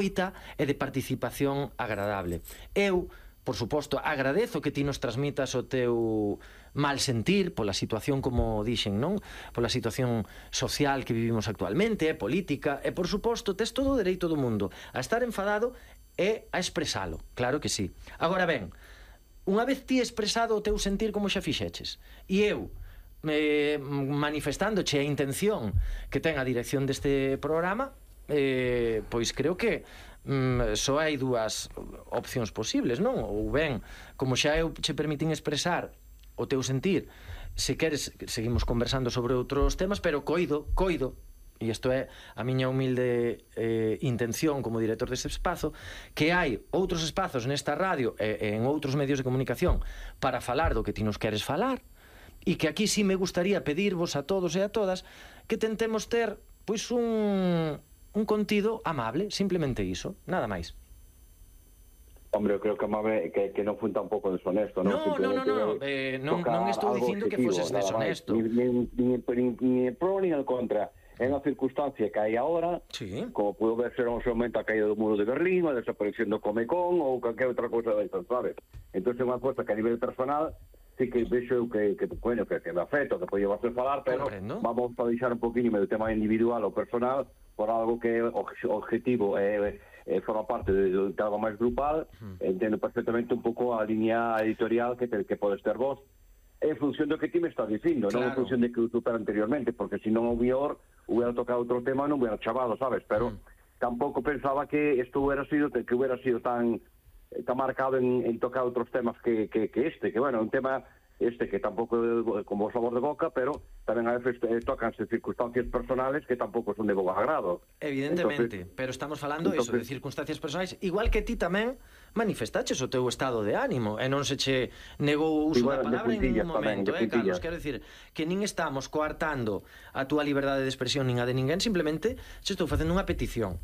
e de participación agradable. Eu, por suposto, agradezo que ti nos transmitas o teu mal sentir pola situación, como dixen, non? Pola situación social que vivimos actualmente, política, e, por suposto, tes todo o dereito do mundo a estar enfadado e a expresalo, claro que sí. Agora ben, unha vez ti expresado o teu sentir como xa fixeches, e eu manifestándoche a intención que ten a dirección deste programa, pois creo que só hai dúas opcións posibles, non? Ou ben, como xa eu che permitín expresar o teu sentir, se queres seguimos conversando sobre outros temas, pero coido, e isto é a miña humilde intención como director deste espazo, que hai outros espazos nesta radio e en outros medios de comunicación para falar do que ti nos queres falar, e que aquí sí me gustaría pedirvos a todos e a todas que tentemos ter pois un contido amable, simplemente iso, nada máis. Hombre, eu creo que amable que non fue tampouco deshonesto, non? Non estou dicindo que foses deshonesto. Ni pro ni en contra. É unha circunstancia que hai agora, como pudo ver ser un momento a caída do muro de Berlín, a desaparición do Comecon ou calquera outra cousa destas, sabes? Entón é unha cousa que a nivel personal sí que vexo que me afecta, que podía ser falar, pero vamos a deixar un poquinho do tema individual ou personal por algo que é objetivo forma parte de algo máis grupal. Entendo perfectamente un pouco a línea editorial que podes ter vos en función do que ti me estás dicindo, non en función de que eu supera anteriormente, porque se non o mellor hubiera tocado outro tema non hubiera chavado, sabes? Pero tampouco pensaba que isto hubiera sido tan marcado en tocar outros temas que este, que bueno, un tema que tampouco é como o sabor de boca, pero tamén a veces tocanse circunstancias personales que tampouco son de bo agrado. Evidentemente, pero estamos falando eso, de circunstancias personais, igual que ti tamén manifestaches o teu estado de ánimo, e non se che negou o uso da palabra en ningún momento, Carlos, quero dicir que nin estamos coartando a túa liberdade de expresión nin a de ninguén, simplemente se estou facendo unha petición.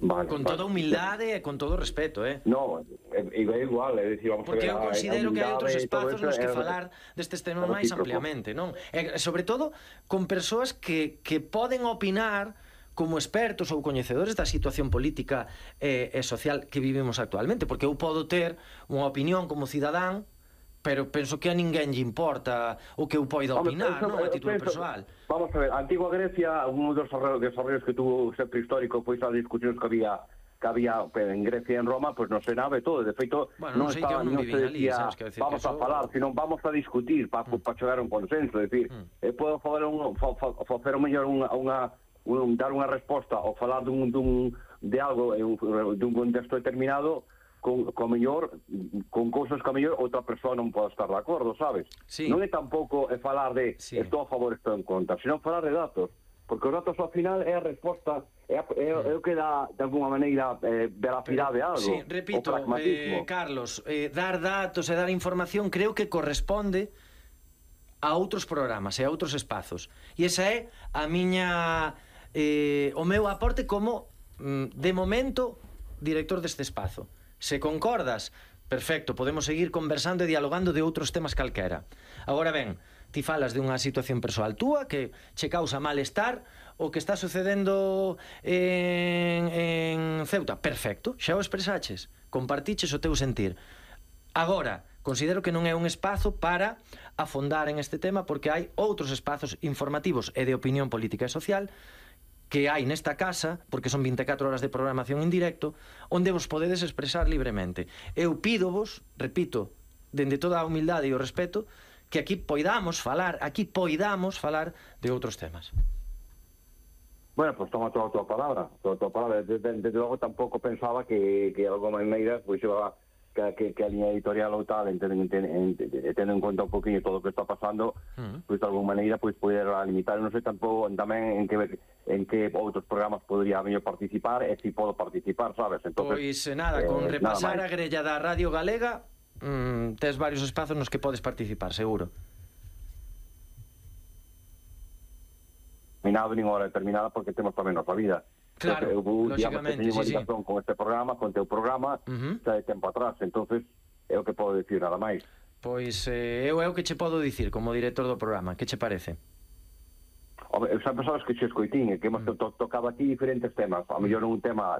Con toda humildade e con todo respeto, No, é igual, é dicir, vamos a ver... Porque eu considero que hai outros espazos nos que falar destes temas máis ampliamente, non? E, sobre todo, con persoas que poden opinar como expertos ou coñecedores da situación política e social que vivimos actualmente, porque eu podo ter unha opinión como cidadán, pero penso que a ninguén lle importa o que eu poida opinar, non? A título persoal. Vamos a ver, a antigua Grecia, un dos desarrollos que tuvo sempre histórico, pois as discusións que había en Grecia e en Roma, pois non se nave todo, de feito, non estaba, non se decía, vamos a falar, sino vamos a discutir para chegar a un consenso, é dicir, podo facer o mellor dar unha resposta ou falar de algo dun contexto determinado con mellor, con cousas que a mellor outra persoa non pode estar de acordo, sabes? Non é tampouco falar de estou a favor, estou en contra, sino falar de datos, porque os datos ao final é a resposta, é o que dá de alguma maneira veracidade a algo. Sí, repito, Carlos, dar datos e dar información creo que corresponde a outros programas e a outros espazos, e esa é a miña o meu aporte como de momento director deste espazo. Se concordas, perfecto, podemos seguir conversando e dialogando de outros temas calquera. Agora ben, ti falas de unha situación persoal túa que che causa malestar o que está sucedendo en Ceuta. Perfecto, xa o expresaches, compartiches o teu sentir. Agora, considero que non é un espazo para afondar en este tema, porque hai outros espazos informativos e de opinión política e social que hai nesta casa, porque son 24 horas de programación en directo, onde vos podedes expresar libremente. Eu pídovos, repito, dende toda a humildade e o respeto, que aquí poidamos falar de outros temas. Bueno, pues toma toda a tua palabra. Desde logo tampouco pensaba que de alguma maneira pois iba que a línea editorial ou tal, tendo en conta un poquinho todo o que está pasando, pois de alguma maneira pois poder limitar, non sei tampouco tamén en que outros programas podría mellor participar e se podo participar, sabes? Entonces, pois nada, con repasar a grella da Radio Galega tes varios espazos nos que podes participar, seguro. Nin nada, nin hora determinada, porque temos tamén nosa vida. Claro, lógicamente, sí. Con este programa, con teu programa, xa de tempo atrás, entonces é o que podo dicir, nada máis. Pois eu é o que che podo dicir como director do programa, que che parece? Xa sabes que che escoitín, que hemos tocado aquí diferentes temas, a mellor un tema